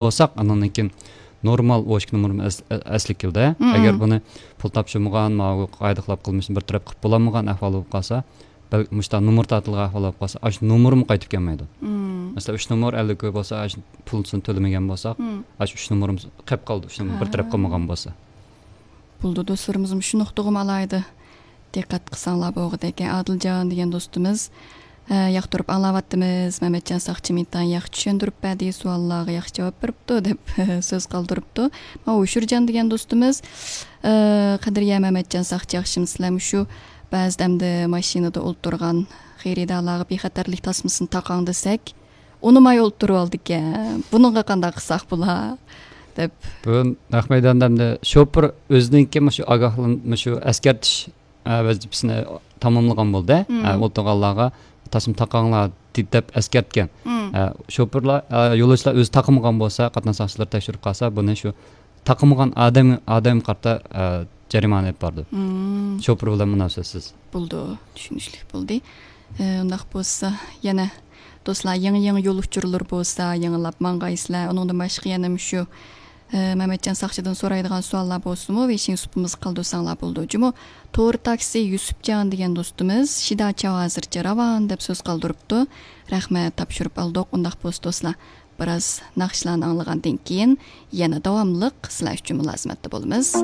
болсак, анан кийин нормал очки номерин эсликил да. Эгер буну пул тапшырмаган, мага кайдыклап кылмышын бир тарап кылып боламаган ахвал болуп калса, мышта номер татылган ахвал болуп калса, аш номерим кайтып келмейди. Mesela 3 номер әле көп болса, аш пулсын төлөмөгөн болсак, аш 3 номерим кеп калды, 3 номер бир тарап кылмаган болса. Булду досторумуз ушуну уктугум алайды. Диккат кылсаңлар болгут экен. Адылжан деген достумуз як туруп аңлап аттыбыз. Маматжан Сакчымиттан як түшүндүрүп берди, суалларга як жооп берипту деп сөз калтырыпту. Ушуржан деген достумуз кадырия Маматжан Сакчы жакшымсыздар, ушу баздамды машинада олтурган кайридаларга бейхатарлык тасмасын такаң десек, унумай олтуруп алды экен. Бунунга кандай кылсак була деп. Бун Ахмедандамда шопур өзүнүнки мушу агахлын мушу аскертиш вазифасыны тамамлаган болду. Олтурганларга тасым такаңлар деп аскерткен. Шопурлар, жолоочулар өзү такымаган болса, катнаш сакчылар текшерип калса, буну шу такымаган адам карта жаримана барды. Шопур менен мунасабатсыз. Булду, түшүнүчлүк болду. Ундак болса, яна достlar яңы жол учурлар болса, яңылап маңгайсызлар. Онундан башка яна ушу Маматжан Сакчыдан сурайдыган суаллар болсуму, вешин супумуз калдырсаңлар болду. Жуму Тоор такси Юсупжан деген достумуз Шидача азырча раван деп сөз калдырыпту. Рахмат, тапшырып алдык. Ундак болсо достlar, бир аз накшылан аңлагандан кийин яна давамлык силер үчүн мулазиматта болобуз.